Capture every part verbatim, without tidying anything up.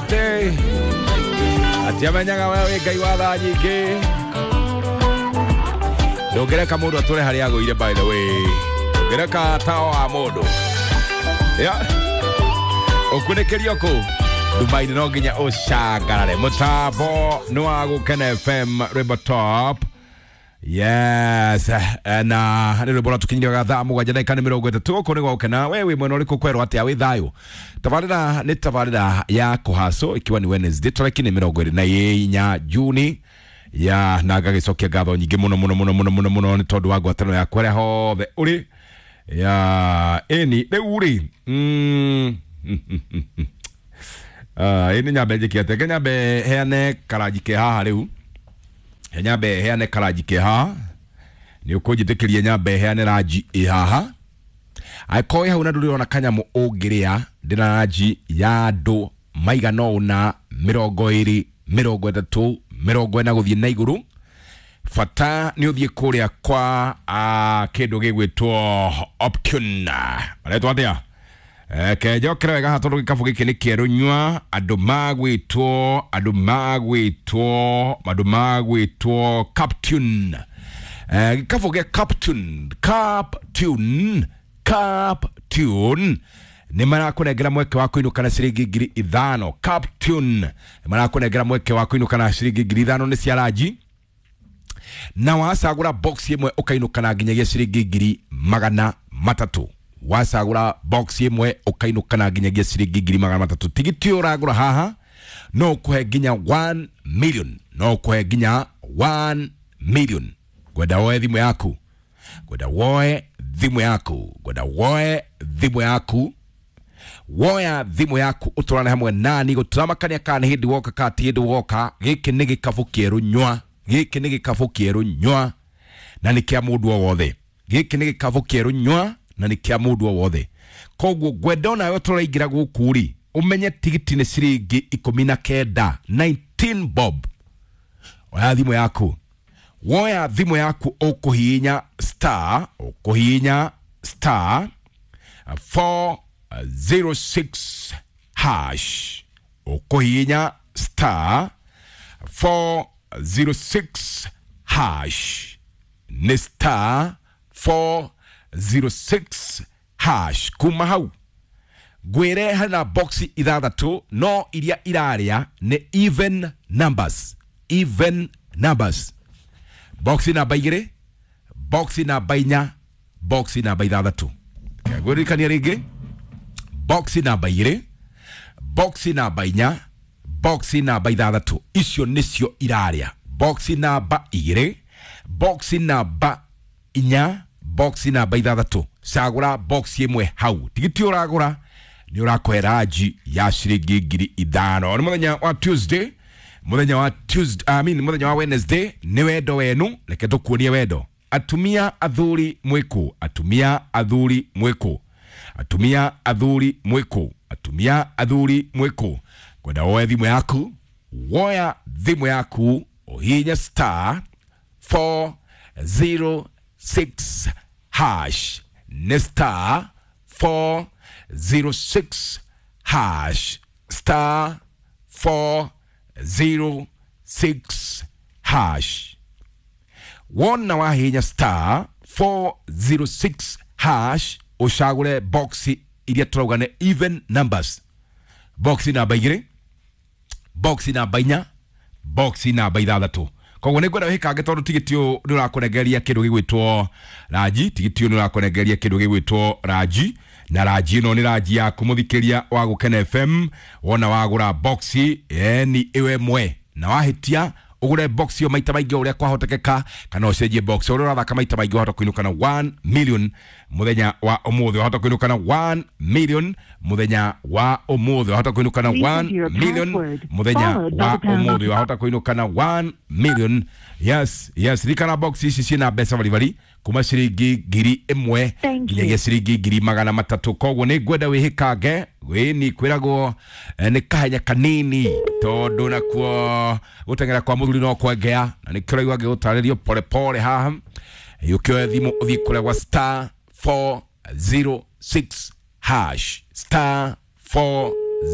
Ate atiamenyaga we wĩ Ngai wa tha nyingĩ. Ndũngĩreka mũndũ atũre harĩa agũire, by the way ndũngĩreka tawa wa mũndũ ya ũkunĩkĩrio kũ ndumainĩ, no nginya ũcangarare. Mũtambo nĩ wa Gũkena F M, rwĩmbo top. Yes, na nĩ rwĩmbo rwatũkinyĩria thaa mũgwanja ndagĩka nĩ mĩrongo ĩtatũ. Gũkũ nĩ gwagũkena. We wĩ mwena ũrĩkũ? Kwerwo atĩa? Wĩ thayũ? Tabarĩra nĩ tabarĩra ya kũhacwo, ikiwa ni Wednesday, tarĩki nĩ mĩrongo ĩrĩ na inya Juni ya, na ngagĩcokia ngatho nyingĩ mũno mũno mũno mũno mũno mũno nĩ tondũ wa ngwatanĩro yaku harĩa hothe ũrĩ ya ĩni. Rĩu rĩ, mm, ah, ĩni nyambe njĩke atĩa? Reke nyambe heane karanji ke haha rĩu. Nyambe heane karanji ke haha, nĩ ũkũnjĩtĩkĩria nyambe heane ranji ĩ haha. Angĩkorwo wĩ hau na ndũrĩ ũrona kanyamũ ũngĩrĩa, ndĩna ranji ya andũ maigana ũna, mĩrongo ĩrĩ, mĩrongo ĩtatũ, mĩrongo ĩna gũthiĩ na igũrũ. Bata nĩ ũthiĩ kũrĩa kwa ah, kĩndũ gĩgwĩtwo Optune. Maretwo atĩa? Eh, kenjokere wega haha tondũ gĩkabũ gĩkĩ nĩ kĩerũ nyua. Andũ magwĩtwo, andũ magwĩtwo, andũ magwĩtwo Captune. Eh, gĩkabũ gĩa Captune, Captune, Captune nĩ marakũnengera mweke wa kũinũka na ciringi ngiri ithano. Captune nĩ marakũnengera mweke wa kũinũka na ciringi ngiri ithano nĩ cia ranji, na wacagũra box ĩmwe ũkainũka na nginyagia ciringi ngiri magana matatũ. Wacagũra box ĩmwe ũkainũka na nginyagia ciringi ngiri magana matatũ. Tigiti ũyũ ũragũra haha no ũkũhe nginya one million, no ũkũhe nginya one million. Ngwenda woe thimũ yaku, ngwenda woe thimũ yaku, ngwenda woe thimũ yaku. Woya thimũ yaku ũtũrane hamwe nani gũtũramakania kana nĩ hĩndĩ woka kana ti hĩndĩ woka. Gĩkĩ nĩ gĩkabũ kĩerũ nyua, gĩkĩ nĩ gĩkabũ kĩerũ nyua na nĩ kĩa mũndũ o wothe. Gĩkĩ nĩ gĩkabũ kĩerũ nyua na nĩ kĩa mũndũ o wothe. Koguo ngwenda onawe tũraingĩra gũkũ rĩ, ũmenye tigiti nĩ ciringi ikũmi na kenda, nineteen bob. Oya thimũ yaku, woya thimũ yaku, ũkũhihinya star, ũkũhihinya star four zero six hash, ũkũhihinya star four zero six hash, nĩ star four zero six hash. Kuma hau ngwĩre hena boxi ithathatũ, no iria irarĩa nĩ even numbers, even numbers. Boxi namba igĩrĩ, boxi namba inya, boxi namba ithathatũ. Ngwĩririkania rĩngĩ, boxi namba igĩrĩ, boxi namba inya, boxi namba ithathatũ, icio nĩcio irarĩa. Boxi namba igĩrĩ, boxi namba inya, boxi namba ithathatũ. Cagũra boxi ĩmwe hau. Tigiti ũragũra nĩ ũrakũhe ranji ya ciringi ngiri ithano. Nĩ mũthenya wa Tuesday, mũthenya wa Tuesday, I mean, mũthenya wa Wednesday nĩ wendo wenu. Reke tũkuonie wendo. Atumia athuri mwĩkũ? Atumia athuri mwĩkũ? Atumia athuri mwĩkũ? Atumia athuri mwĩkũ? Kwenda woe thimũ yaku, woya thimũ yaku ũhihinye star four zero six hash, nĩ star four zero six hash, star four zero six hash. Wona wahihinya star four zero six hash, ũcagũre boxi iria tũrauga nĩ even numbers, boxi namba igĩrĩ, boxi namba inya, boxi namba ithathatũ. Koguo nĩ ngwenda wĩkange tondũ tigiti ũyũ nĩ ũrakũrengeria kĩndũ gĩgwĩtwo ranji. Tigiti ũyũ nĩ ũrakũrengeria kĩndũ gĩgwĩtwo ranji, na ranji ĩno nĩ ranji yaku, mũthikĩria wa Gũkena F M. Wona wagũra boxi eni ĩyo ĩmwe na wahĩtia ũgũre box ĩyo maita maingĩ ũrĩa kwahotekeka kana ũcenjie box ũrĩa ũrathaka maita maingĩ, wahota kũinũka na one million mũthenya wa ũmũthĩ. Wahota kũinũka na one million mũthenya wa ũmũthĩ. Wahota kũinũka na Please one enter your million password, mũthenya followed by wa the pound ũmũthĩ. Wahota kũinũka na one million. Yes, yes, ririkana box ici ciĩna mbeca baribari kuma ciringi ngiri ĩmwe Thank you. nginyagia ciringi ngiri magana matatũ. Koguo nĩ ngwenda wĩhĩkange wĩni kwĩragwo eh, nĩ kahenya kanini tondũ nakuo gũteng'era kwa mũthuri no kwengea, na nĩkĩo ũraigua ngĩgũtarĩrio pole pole haha. Ũkĩoya thimũ ũthiĩ kũrĩa gwa star four zero six hash, star four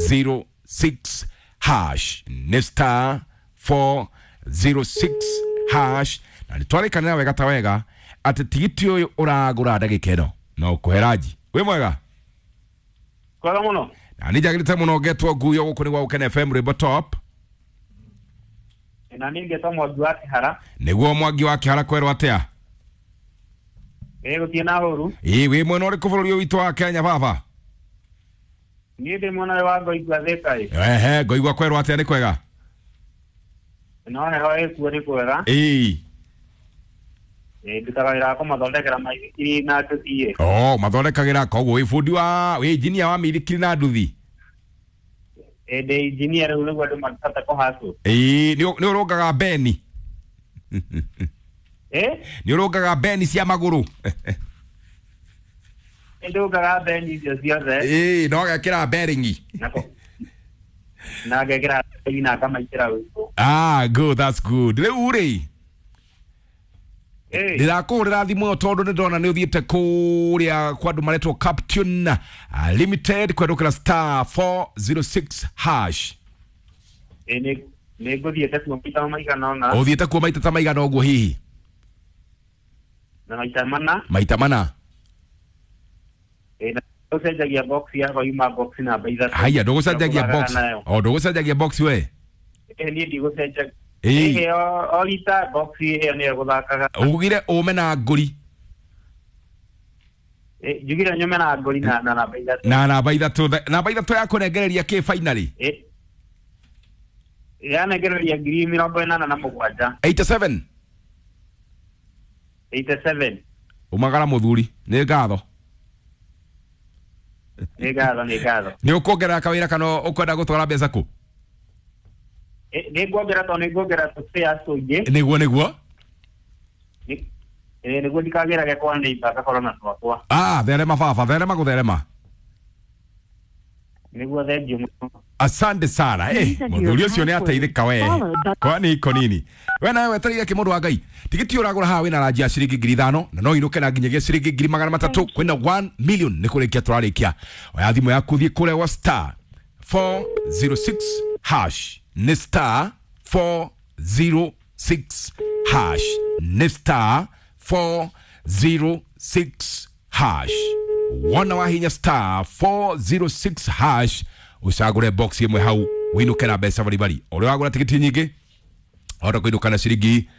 zero six. hash, nĩ star four zero six hash. Na nĩ twarĩkanĩra wega ta wega atĩ tigiti ũyũ ũragũra ndagĩka ĩno no ũkũhe ranji. Wĩ mwega? Kwega mũno. Na nĩ njagĩrĩte mũno ngetwo nguyo gũkũ nĩ gwa Gũkena F M rwĩmbo top. Na niĩ ngetwo Mwangi wa Kĩhara. Nĩguo Mwangi wa Kĩhara kwerwo atĩa? Ĩ gũtirĩ na ũru. Ĩ wĩ mwena ũrĩkũ bũrũri ũyũ witũ wa Kenya baba? Niĩ ndĩ mwena wa Ngoigua Thĩka ĩ. Ehe, Ngoigua kwerwo atĩa, nĩ kwega? No heho ĩkuo nĩ kwega. Ĩ. Ĩ ndutaga wĩra wa kũmathondekera maithikiri na nduthi ĩ. Oh, mathondekagĩra koguo wĩ bundi wa wĩ engineer wa mĩithikiri na nduthi? Ĩ ndĩ engineer rĩu nĩguo andũ makĩhota kũhacwo. Ĩ nĩ ũrũngaga beni? Ĩ? Nĩ ũrũngaga beni cia magũrũ? Nĩ ndũngaga beni icio ciothe. Ĩ no ũgekĩra bearing. Na ngekĩra bearing na ngamaitĩra ũikũ. Ah, good, that's good. Rĩu rĩ, ndĩrakũhũrĩra thimũ ĩyo tondũ nĩ ndona nĩ ũthiĩte kũrĩa kwa andũ maretwo Captain Limited kwendũkĩra star four zero six hash. Ĩ nĩ nĩ ngũthiĩte kuo maita maigana ũna. Ũthiĩte kuo maita ta maigana ũguo hihi? Na maita mana. Maita mana. Ĩ na ũcenjagia box yakwa yuma box namba ithatũ. Haya, ndũgũcenjagia box. O ndũgũcenjagia box we? Ĩ niĩ ndigũcenjagia. Ĩ o rita box ĩyo nĩyo gũthakaga. Ugire ũme na ngũri. Ĩ njugire nyume na ngũri na namba ithatũ. Na namba ithatũ, namba ithatũ ya kũnengereria kĩ finally? Ĩ yanengereria ngiri mĩrongo ĩnana na mũgwanja. eighty-seven. eighty-seven. Umagara mũthuri, nĩ ngatho. Nĩ ngatho, nĩ ngatho. Nĩ ũkuongerera kawĩra kana ũkwenda gũtwara mbeca kũ? Nĩ nguongerera tondũ nĩ nguongerera tũspares tũingĩ. Nĩguo, nĩguo. Ĩ nĩguo ndikagĩrage kwa neighbor ngakorwo na twakwa. Ah, therema baba, therema gũtherema. Nĩguo, thengiũ mũno. Asante sana. Eh, mũthuri ũcio nĩ ateithĩka we. Kwani iko nini? We nawe wetereire kĩ mũndũ wa Ngai? Tigiti ũragũra haha wĩna ranji ya ciringi ngiri ithano na no inũke na nginyagia ciringi ngiri magana matatũ kwĩna one million nĩ kũrĩkia tũrarĩkia. Oya thimũ yaku thiĩ kũrĩa gwa star four zero six hash. Nĩ star four zero six hash. Nĩ star four zero six hash. Wona wahinya star four zero six hash ucagũre box ĩmwe hau wĩinũke na mbeca baribari. Ũrĩa wagũra tigiti nyingĩ wahota kũinũka na ciringi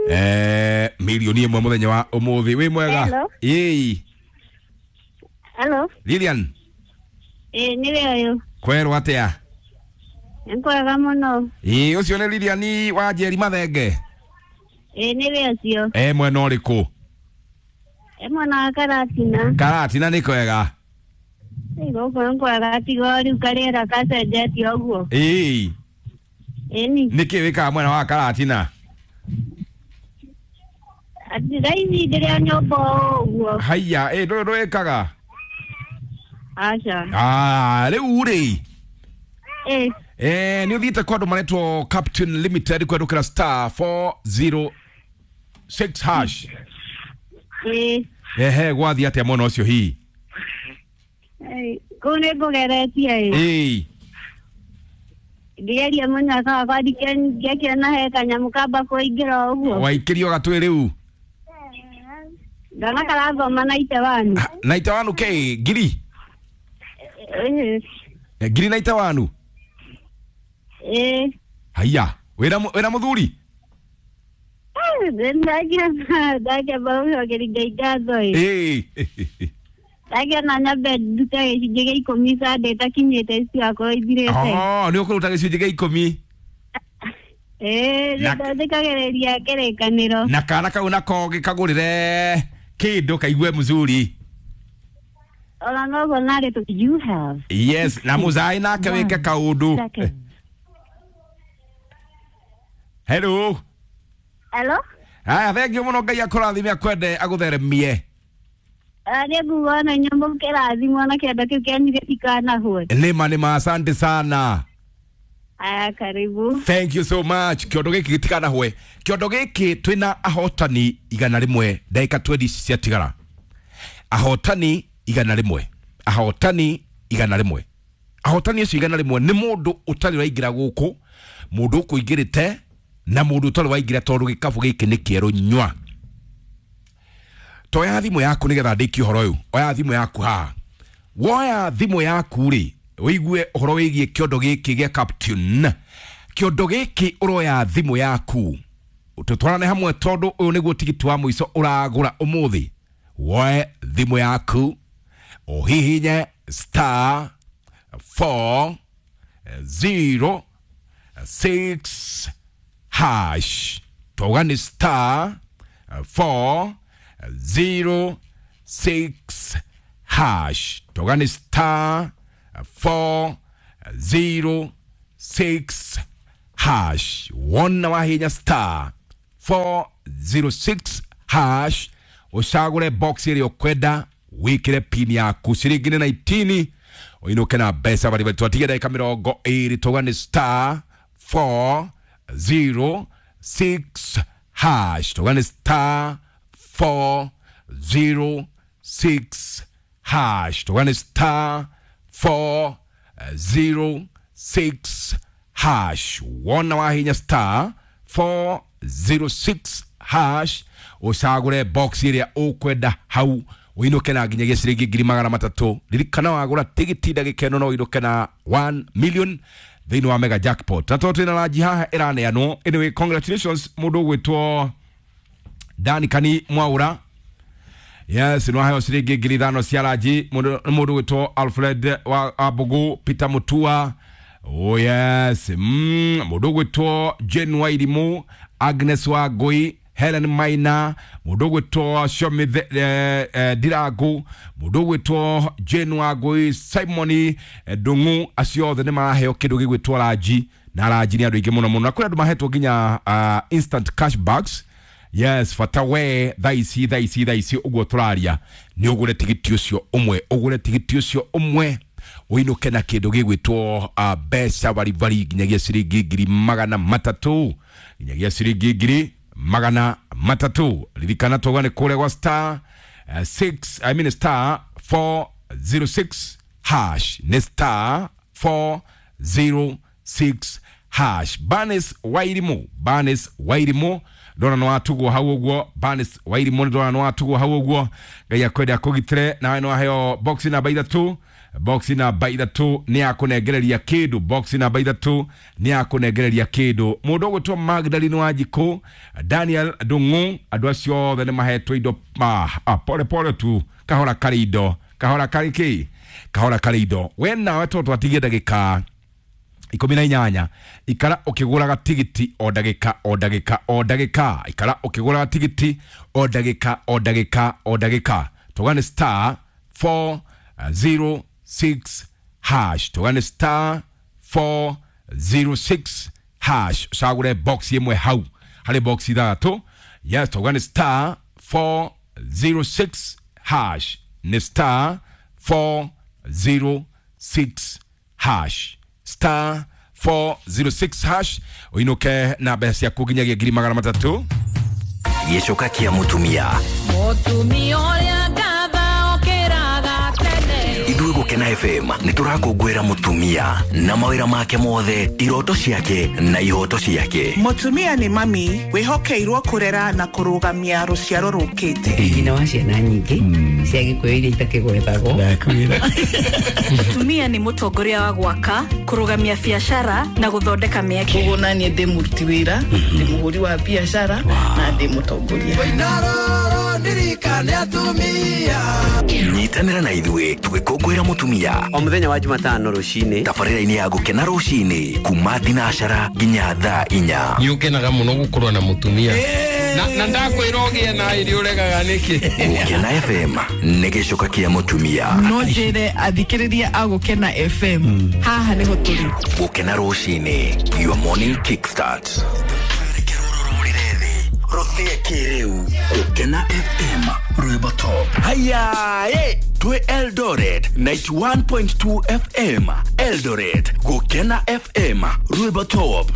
eh milioni ĩmwe mũthenya wa ũmũthĩ. Wĩ mwega? Ĩĩ. Hello. Lilian. Ĩĩ nĩwe ũyũ. Kwerwo atĩa? Nĩ kwega mũno. Ĩĩ ũcio nĩ Lilian wa Njeri Mathenge. Ĩĩ nĩwe ũcio. Eh mwena ũrĩkũ? E mwena wa Karatina. Karatina nĩ kwega? Ĩ gũkũ nĩ kwega tiga rĩu karĩera gacenjetie ũguo. Ĩĩ. Ĩni. Nĩkĩ wĩkaga mwena wa Karatina? Atĩ thaa ici ndĩrĩ o nyũmba ũguo. Haiya, ĩ ndũĩ ndwĩkaga? Aca. Ah, rĩu rĩ. Ĩ. Eh, nĩ ũthiĩte kwa andũ maretwo Captain Limited kwendũkĩra star four zero six hash. Ĩ. Ehe, gwathiĩ atĩa mwena ũcio hihi? Kũu nĩ ngũgeretie ĩ. Ĩ. Ngĩgeria mũnyaka wakwa ngĩakĩona he kanyamũ kamba kũingĩra ũguo. Waikĩrio gatwĩ rĩu? Ndona karathoma na one. Naite one kĩ? Ngiri? Ngiri naite one? Ĩ. Haiya, wĩna wĩna mũthuri? Ndakĩona ndakĩamba gũcokeria Ngai ngatho ĩ. Ĩ. Ndakĩona nyambe ndute gĩcunjĩ gĩa ikũmi Sunday ĩtakinyĩte cigakorwo ithirĩte. Oh, nĩ ũkũruta gĩcunjĩ gĩa ikũmi? Ĩ, nĩndĩkagereria kĩrĩkanĩro. Na kana kau nako gĩkagũrĩre kĩndũ kaigue mzuri. Ona noguo narĩ tũ You have. Yes, na mũzai nake wĩke kaũndũ. Hello. Hello. Haya, thengiũ mũno, Ngai akũrathime akwende agũtheremie. Nĩ nguga ona inyuĩ mũkĩrathimwo na kĩondo kĩu kĩanyu gĩtikanahwe. Nĩma nĩma, asante sana. Aya, karibu. Thank you so much. Kĩondo gĩkĩ gĩtikanahwe. Kĩondo gĩkĩ twĩna ahotani igana rĩmwe ndagĩka twenty ciatigara. Ahotani igana rĩmwe. Ahotani igana rĩmwe. Ahotani acio igana rĩmwe nĩ mũndũ ũtarĩ waingĩra gũkũ, mũndũ ũkũingĩrĩte na mũndũ ũtarĩ waingĩra tondũ gĩkabũ gĩkĩ nĩ kĩerũ nyua. Toya thimũ yaku nĩgetha ndĩkie ũhoro ũyũ. Oya thimũ yaku haha. Woya thimũ yaku rĩ, ũigue ũhoro wĩgiĩ kĩondo gĩkĩ gĩa Captain. Kĩondo gĩkĩ ũroya thimũ yaku tũtwarane hamwe tondũ ũyũ nĩguo tigiti wa mũico ũragũra ũmũthĩ. Woe thimũ yaku ũhihinye star four zero six hash. Twauga nĩ star four zero six hash. Twauga nĩ star four zero six hash. Wona wahinya star four zero six hash ucagure box ĩrĩa ũkwenda wikire pin yaku ciringi nĩ nineteen ũinũke na mbeca bari bari. Twatige ndagĩka mĩrongo ĩrĩ. Twauga nĩ star four zero six hash. Twauga nĩ star four zero six hash. Twauga nĩ star four zero six hash. Wona wahinya star four zero six hash ucagure box ĩrĩa ũkwenda hau ũinũke na nginyagia ciringi ngiri magana matatũ. Ririkana wagũra tigiti ndagĩka ĩno no ũinũke na one million thĩinĩ wa mega jackpot. Na tondũ twĩna ranji haha ĩraneanwo. Anyway, congratulations mũndũ ũgwĩtwo Dani Kani Mwaura. Yes, no heo ciringi ngiri ithano cia ranji. Mũndũ ũgwĩtwo Alfred wa Abugu, Peter Mutua. Oh yes, mm, mũndũ ũgwĩtwo Jane Wairimu, Agnes Wangui, Helen Maina, mũndũ ũgwĩtwo Shomith eh, eh, Ndirangu, mũndũ ũgwĩtwo Jane Wangui, Simon Ndung'u, acio othe nĩ maraheo kĩndũ gĩgwĩtwo ranji, na ranji nĩ andũ aingĩ mũno mũno. Na kũrĩ andũ mahetwo nginya uh, instant cashbacks. Yes, fata we thaa ici thaa ici thaa ici ũguo tũraria nĩ ũgũre tigiti ũcio ũmwe, ũgũre tigiti ũcio ũmwe ũinũke na kĩndũ gĩgwĩtwo uh, mbeca baribari nginyagia ciringi ngiri magana matatũ, nginyagia ciringi ngiri magana matatũ. Ririkana twauga nĩ kũrĩa gwa star uh, six, I mean star four zero six hash. Nĩ star four zero six hash. Banis Wairimu, Banis Wairimu ndona no atugwo hau ũguo. Banis Wairimu ndona no atugwo hau ũguo. Ngai akwende akũgitĩre. Nawe no aheo box namba ithatũ. Box namba ithatũ nĩ yakũnengereria kĩndũ. Box namba ithatũ nĩ yakũnengereria kĩndũ. Mũndũ ũgwĩtwo Magdalene Wanjikũ, Daniel Ndung'u, andũ acio othe nĩ mahetwo indo. Ah, ah, pole pole tu, kahora karĩ indo, kahora karĩ kĩ, kahora karĩ indo. We nawe tondũ twatigie ndagĩka ikũmi na inyanya, ikara ũkĩgũraga tigiti o ndagĩka o ndagĩka o ndagĩka, ikara ũkĩgũraga tigiti o ndagĩka o ndagĩka o ndagĩka. Twauga nĩ star four zero six hash. Twauga nĩ star four zero six hash. Ũcagũre box ĩmwe hau harĩ box ithathatũ. Yes, twauga nĩ star four zero six hash. Nĩ star four zero six hash. Star four zero six hash ũinũke na mbeca ciaku nginyagia ngiri magana matatũ. Gĩcoka kĩa mũtumia. Mũtumia ũrĩa ngatha okĩraga tene. Ithuĩ Gũkena F M nĩ tũrakũngũĩra mũtumia na mawĩra make mothe, iroto ciake na ihoto ciake. Mũtumia nĩ mami wĩhokeirwo kũrera na kũrũgamia rũciaro rũkĩte. Nyina wa ciana nyingĩ cia Gĩkũyũ iria itakĩgwetagwo. Ndakwĩra. Mũtumia nĩ mũtongoria wa gwaka, kũrũgamia biacara na gũthondeka mĩeke. Koguo naniĩ ndĩ mũruti wĩra, ndĩ mũhũri wa biacara na ndĩ mũtongoria. Nyitanĩra na ithuĩ tũgĩkũngũĩra mũtumia o mũthenya wa Jumatano rũcinĩ, tabarĩra-inĩ ya Gũkena rũcinĩ kuma thinacara nginya thaa inya. Nĩ ũkenaga mũno gũkorwo na mũtumia na na ndakwĩra ũgĩe na irio ũregaga nĩkĩ. Gũkena F M nĩ gĩcoka kĩa mũtumia. No njĩre athikĩrĩria a Gũkena F M haha nĩho tũrĩ. Gũkena rũcinĩ, your morning kickstart. Rothie kĩrĩu Gũkena F M rwĩmbo top. Haya, ye twe Eldoret ninety-one point two F M. Eldoret Gũkena F M rwĩmbo top.